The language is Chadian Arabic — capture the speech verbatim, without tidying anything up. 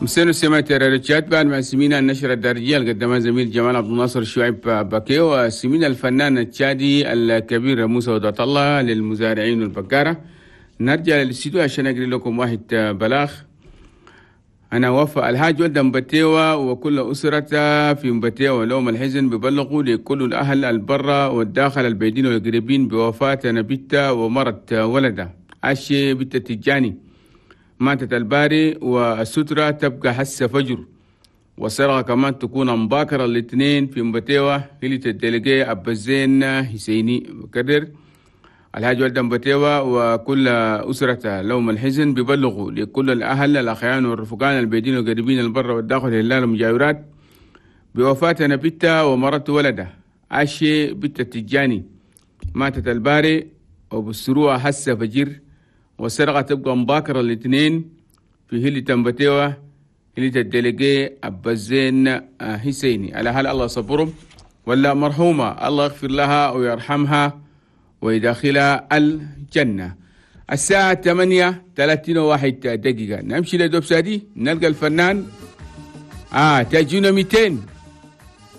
مسينو سمعت ريتشات بعد ما سمينا النشرة الدارجية اللي قدمها زميل جمال عبد الناصر شعيب باكيو، وسمينا الفنان التشادي الكبير موسى ودعت الله للمزارعين والبقارة. نرجع للاستديو عشان أقري لكم واحد بلاغ. أنا وفاء الحاج ولد مبتيوة وكل أسرته في مبتيوة لوم الحزن ببلغوا لكل الأهل البرة والداخل البيدين والقريبين بوفاة نبيتا ومرت ولده عشي بنت التجاني ماتت الباري، والسترة تبقى حس فجر، والسرقة كمان تكون مباكرة الاثنين في مبتيوة هلة الدلقية أبا الزين حسيني. بكرر الحاج ولد مبتيوة وكل أسرته لوم الحزن ببلغوا لكل الأهل الأخيان والرفقان البيدين والقريبين البر والداخل هلال المجاورات بوفاة نبيتا ومرت ولده عشي بنت التجاني ماتت الباري، وبالسروع حس فجر، والسرقة تبقى مباكرة الاثنين في هلة مبتيوة هلة الدلقي أبا الزين حسيني. على هل الله صبرهم ولا مرحومة الله يغفر لها ويرحمها ويدخلها الجنة. الساعة ثمانية ثلاثين وواحد دقيقة نمشي لدوب سادي نلقى الفنان آه تاجونا مئتين.